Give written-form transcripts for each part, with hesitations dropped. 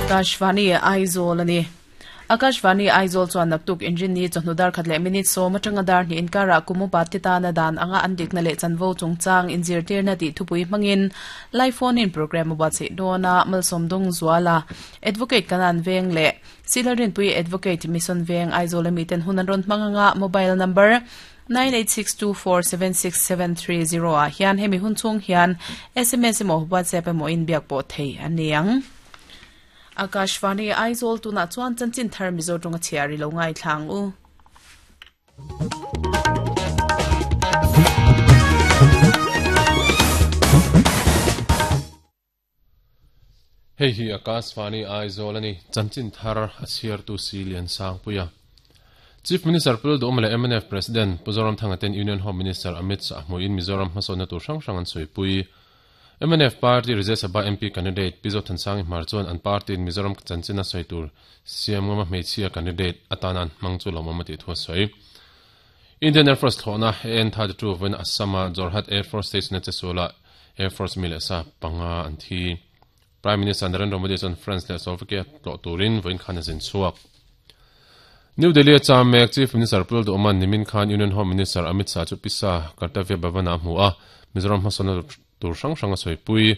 Akashvani Aizawl a ni. Akashvani Aizawl chuan naktuk inrinni chawhnu dar khat leh minute sawm atanga dar hnih inkarah kum upa te tana dan anga an dikna leh chanvo chungchang inzirtirna tih thupui hmangin live phone in programme a buatsaih dawn a, Malsawm Dawngzuala, Advocate Kanan Veng leh Silarinpui Advocate Mission Veng Aizawl ami ten hun an rawn hmang anga mobile number 9862476730 ah hian hemi hun chhung hian sms emaw WhatsApp emaw in biak pawh thei a ni ang. Akashvani Aizawl tunah chuan chanchin thar Mizo tawnga chhiar i lo ngaithla ang u. Hei hi Akashvani Aizawl a ni, chanchin thar a chhiartu si Lian Sangpuia. Chief Minister Pu Duhawma leh mnf President Pu Zoramthanga ten Union Home Minister Amit Shah hmuiin Mizoram hmasawnna tur hrang hrang an sawipui. Mnf Party Rajya Sabha MP candidate Pi Zothansangi Hmar chuan an party-in Mizoram chanchin a sawi tur siam ngama hmeichhia candidate atana an hmang chu lawmawm a tih thu a sawi. Indian Air Force thlawhna AN-32 vawiin Assam-a Jorhat Air Force Station-a chesualah Air Force mi leh sa panga an thi. Prime Minister Narendra Modi chuan France leh Slovakia tlawh turin vawiin khan a zin chhuak. New Delhi-a cham mek Chief Minister Pul Duhman nimin khan Union Home Minister Amit Shah chu Pisa Kartavya Bhavan-ah a hmu a, Mizoram hmasawnna tur hrang hrang a sawipui.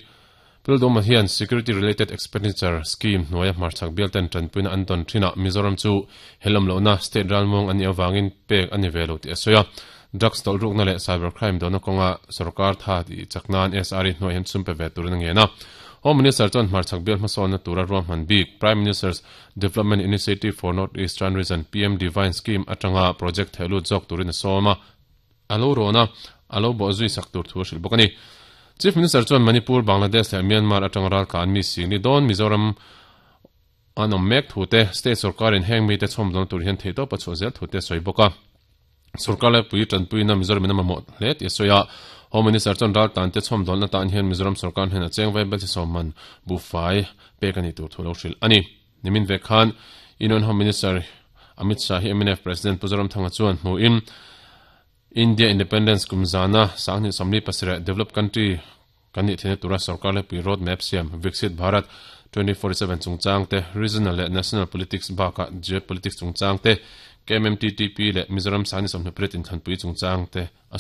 Pul Duhman hian Security Related Expenditure Scheme hnuaia hmarchhak bialten tanpuina an dawn thinah Mizoram chu helawm lohna state ralmuang a nih avangin pek a ni ve lo tih a sawi a. Drugs tawlhrukna leh cyber crime dona kawnga sorkar tha tih chak nan SRE hnuaiah hian chhum pe ve turin a ngen a. Home Minister chuan hmarchhak bial hmasawnna tura ruahman bik Prime Minister's Development Initiative for North Eastern Region, PM Divine Scheme, atanga project theh lut zawk turin a sawm a, a lo rawn a, a lo bawh zui sak tur thu a hrilh bawk a ni. Chief Minister chuan Manipur, Bangladesh leh Myanmar atanga raltla an mi sing ni dawn Mizoram An awm mek thu te, state sorkarin heng mite chhawmdawn tur hian theihtawp a chhuah zel thu te a sawi bawk a. Sorkar laipui tanpuina Mizoramin a mamawh hle tih a sawi a. Home Minister chuan raltan te chhawmdawnna tan hian Mizoram sorkar hnenah cheng vaibel chi sawm man buhfai pek a nih tur thu lo hrilh a ni. Nimin vek khan Union Home Minister Amit Shah hi mnf President Pu Zoramthanga chuan hmuhin India Independence kum zana 2027 developed country Kan nih theihna tura sorkar lepui road map siam Viksit Bharat 2047 chungchang te, regional leh national politics bakah geopolitics chungchang te, KMMTTP leh Mizoram Sani 28 inthlanpui chungchang te a sawi.